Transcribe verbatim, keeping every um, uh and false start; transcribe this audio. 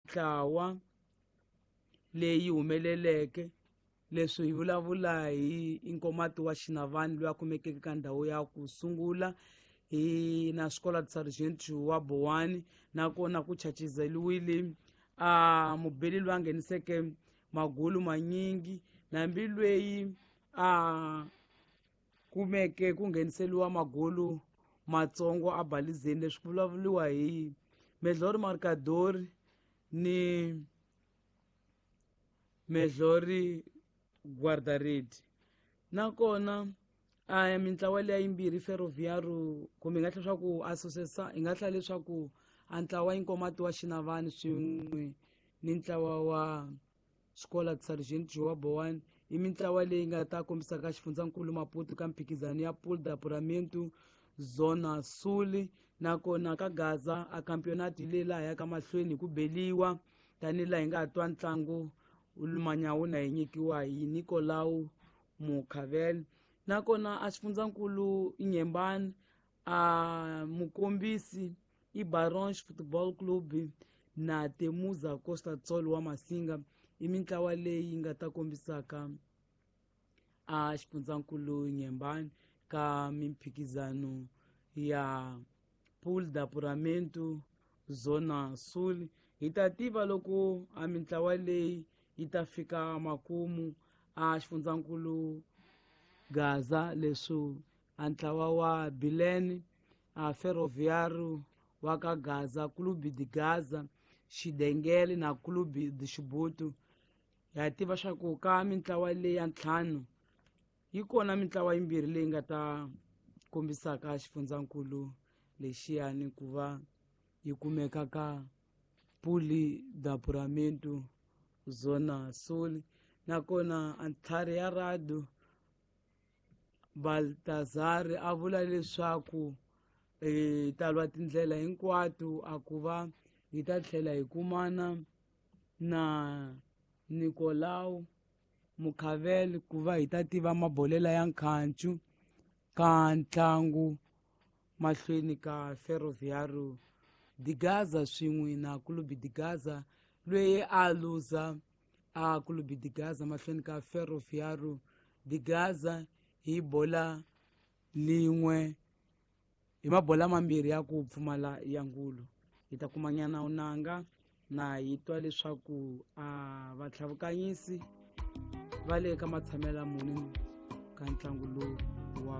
Mintlawa leyi humeleleke, leswi hi vulavula hi Inkomati wa Xinavani loyi a kumekeke ka ndhawu ya ku sungula, hi na Escola de Sargento wa Bowani, nakona ku chachizeliwile a mubeli loyi a ngheniseke magulu manyingi, nambi lweyi a kumeke ku ngheniseliwa magulu matsongo a balizeni. Leswi ku vulavuriwa hi Medlori Marcadori ni Medlori Guardaredi. Nakona a mintlawa leya yimbirhi, Ferroviário, kumbe hi nga tlhela leswaku associação, hi nga tlhela leswaku a ntlawa Inkomati wa Xinavani swin'we ni ntlawa wa Escola de Sargento wa Bowani i mintlawa leyi nga ta kombisaka xifundzankulu Maputo ka mphikizano ya Pool de Apuramento Zona Sul. Nakona ka Gaza a campeonato hi leyi laha yaka mahlweni hi ku beliwa, tanihi laha hi nga twa ntlangu manyawuna hi nyikiwa hi Nicolau Mukhavel. Nakona a xifundzankulu Nyembani, a mukombisi i Barons Football Club na Temuza Costa Tsol wa Masinga, i mintlawa leyi nga ta kombisaka a xifundzankulu Nyembani ka mimphikizano ya Pool de Apuramento Zona Sul. Hi ta tiva loko a mintlawa leyi yi ta fika makumu a xifundzankulu Gaza, leswi a ntlawa wa Bilene, a Ferroviário wa ka Gaza, Clube de Gaza, Xidengele na Clube de Xibutu. Ha tiva swa ku ka mintlawa leyi ya ntlhanu yi kona mintlawa yimbirhi leyi nga ta kombisaka xifundzankulu lexiyani ku va yi kumeka ka Puli de Apuramento Zona Sul. Nakona a ntlhari ya rado Baltazar a vula leswaku hi ta lwa tindlela hinkwato a ku va hi ta tlhela hi kumana na Nicolau Mukhavel ku va hi ta tiva mabolela ya nkhancu ka ntlangu mahlweni ka Ferroviário de Gaza swin'we na Clube de Gaza, loyi a luza a Clube de Gaza mahlweni ka Ferroviário de Gaza hi bola lin'we, hi mabola mambirhi ya ku pfumala ya ngulu. Hi ta kumanyana unanga na hi twa leswaku a vatlhavukanyisi va le ka matshamela muni ka ntlangu lowu wa